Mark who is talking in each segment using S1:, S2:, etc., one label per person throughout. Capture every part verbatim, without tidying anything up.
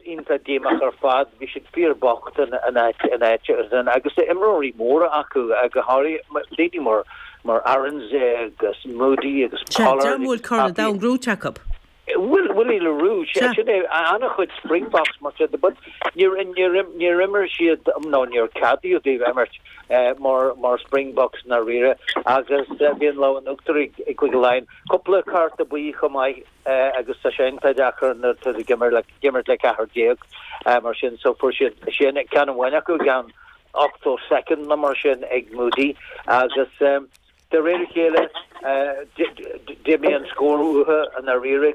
S1: iontach díomách ar fad, bhí siad fíorbocht an an áit an áit agus imreoirí móra acu go háirithe daoine mar mar Arendse agus Moody agus
S2: Pollard. Bhfuil Corn an Domhain gnóthaithe acu.
S1: Will Willie le Roux sin é an-chuid Springboks mar sin but níor níor imir siad nó níor ceadaíodh dóibh imirt mar mar Springboks dáiríre agus bhí an lámh in uachtar ag Cúige Laighean. Cúpla cárta buí chomh maith agus tá sé iontach deacair nuair tú ag imirt le imirt le ceathrar déag mar sin so fuair siad sin ceann amháin acu gan ochtó soicind nó mar sin ag Moody agus um, de réir a chéile d'imigh an scór uathu an dáiríre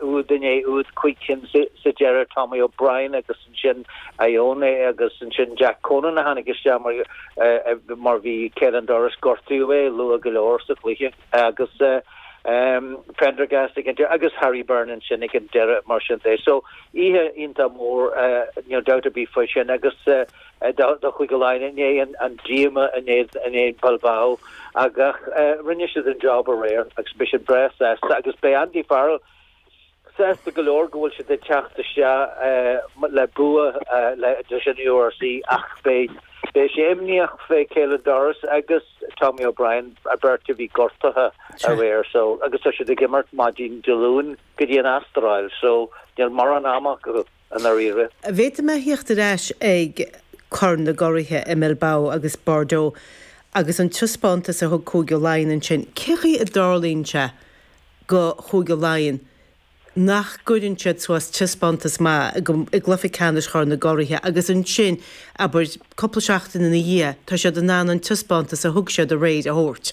S1: úd inné úd cúig cinn sa deireadh Tommy O'Brien agus ansin Ioane agus ansin Jack Conan a tháinig isteach mar mar bhí Caelan Doris gortaithe é luath go leor sa chluiche agus um, Prendergast ag an agus Harry Byrne sin ag an deireadh mar sin de. So oíche iontach mór uh, níl dabht ar bith faoi sin agus uh, do Chúige Laighean inné an, an díomá inné inné Bilbao agus uh, rinne siad an job aréir agus beidh siad breá sásta agus beidh Andy Farrell sásta go leor go bhfuil siad ag teacht isteach uh, le bua uh, le sin URC ach beidh beidh sé imníoch fé Caelan Doris agus Tommy O'Brien a beirt a bhí gortaithe aréir so agus tá siad ag imirt maidin Dé Luain go dtí an Astráil so níl mórán ama acu an dáiríre.
S2: Bhí mé thíocht ar ais ag Corn na gCuradh i Bilbao agus Bordeaux agus an taispeántas a thug Cúige Laighean ansin cén chaoi a dtarlaíonn sé go Chúige Laighean nach gcuireann siad suas taispeántas maith i gcluiche ceannais Chorn na gCuradh agus ansin abair cúpla seachtain ina dhiaidh tá siad in ann an taispeántas a thug siad aréir a thabhairt.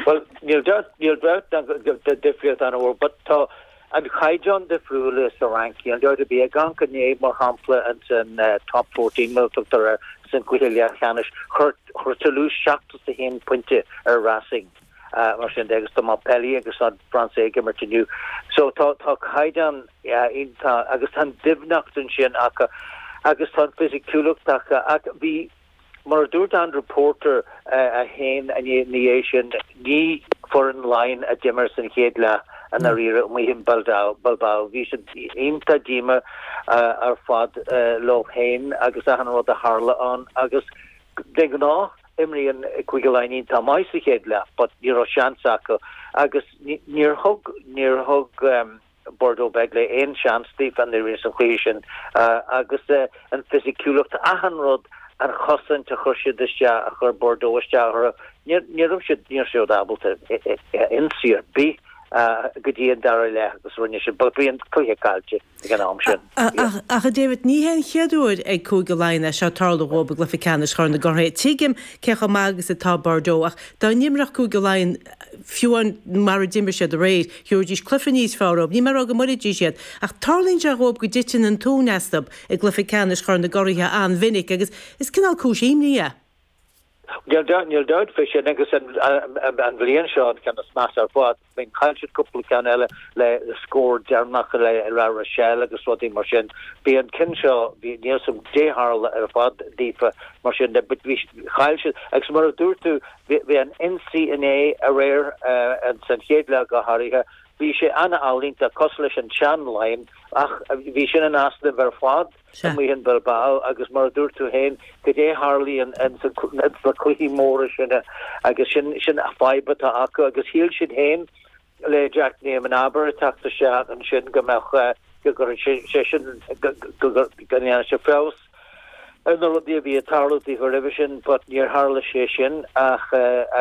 S1: Well níl níl difríocht an but tá an caighdeán difriúil sa Fhrainc an dá bí gan inné mar shampla an san uh, top fourteen mar tugtar san cluiche leathcheannais chuir Toulouse seachtó a haon pointe ar Racing. Uh, mar sin agus tá Montpellier agus an France ag imirt inniu. So tá tá caighdeán uh, agus tá doimhneacht ansin acu agus tá fisiciúlacht acu ach bhí mar a dúirt Andrew Porter uh, a haon ní sin ní foireann Laighean a d'imir san chéad leath an dáiríre amuigh in Bilbao Bilbao bhí siad iontach díomách uh, ar fad uh, leo féin agus an rud a tharla ann agus de ghnáth imríonn Cúige Laighean tá maith sa chéad leath, but ní raibh seans acu agus níor thug níor thug um, Bordeaux Bègles aon seans dóibh an rí san chluiche sin uh, agus uh, an fisiciúlacht achan rud an chosaint a chuir siad isteach a chuir Bordeaux isteach ní raibh siad ní siad ábalta ionsaí ar bith go dtí an dara leath agus rinne siad bhí an cluiche caillte ag an am sin.
S2: Ach a David ní hé an chéad uair ag Cúige Laighean é seo tarlú dóibh i gcluiche ceannais Chorn na gCuradh. Tuigim cé chomh maith agus atá Bordeaux ach dá n-imreodh Cúige Laighean fiú mar a d'imir siad aréir, gheobhaidís cluiche níos fearr, ní mar go mbuafaidís iad ach tarlaíonn sé dhóibh go dtiteann an tóin astu i gcluiche ceannais Chorn na gCuradh an-mhinic agus is cineál cúis imní é.
S1: Níl dabht faoi sin agus an bhliain seo an ceann is measa ar fad bíonn chaill siad cúpla ceann eile le scór deireanach le La Rochelle agus rudaí mar sin. Bhí an ceann seo bhí níl sam déharla ar fad daofa mar sin de bhí chaill siad agus mar a dúirt tú bhí an ionsaí inné aréir an san chéad leath go háirithe bhí sé an-ealaíonta cosúil leis an tsean-Laighin ach bhí sin in easnamh ar fad amuigh in Bilbao agus mar a dúirt tú féin go dé tharlaíonn na cluichí móra sin agus sin sin a fadhb atá acu agus shíl siad féin le Jack Newman-Arbour teacht isteach ansin go mbeadh go gur sé sin go ndéanfaidh sé feabhas ar na rudaí a bhí ag tarlú roimhe sin, but níor tharla sé sin ach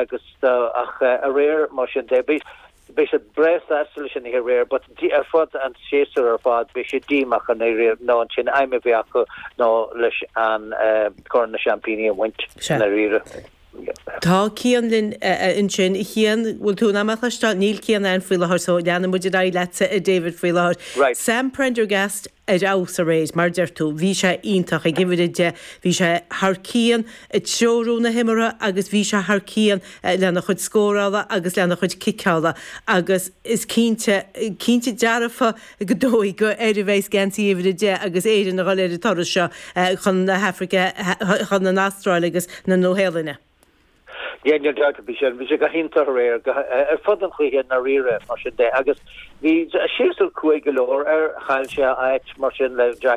S1: agus ach aréir mar sin de bhí beidh siad breá sásta leis an aréir, but ar fud an séasúr ar fad beidh sé díomách an aréir nó ansin aidhm a bhí acu nó leis an Corn na Seaimpíní a bhaint an dáiríre.
S2: Tá Cian linn ansin Cian bhfuil tú amach leis níl Cian ann faoi láthair so leanfaidh muid ar aghaidh leatsa David faoi láthair. Sam Prendergast ar fheabhas aréir mar deir tú, bhí sé iontach ag uimhir a deich, bhí sé thar cionn ag treorú na himeartha agus bhí sé thar cionn lena chuid scórála agus lena chuid ciceála agus is cinnte cinnte dearfa go dóigh go ar a bheith geansaí uimhir a deich agus Éirinn a dhul ar an turas seo chun na hAfraice chun an Astráil agus na Nua-Shéalainne.
S1: Yeah, níl dabht bhí sé bhí sé go hiontach aréir ar fud an chluiche dáiríre mar sin de agus bhí séasúr cruaidh go leor ar chaill sé áit mar sin le Jack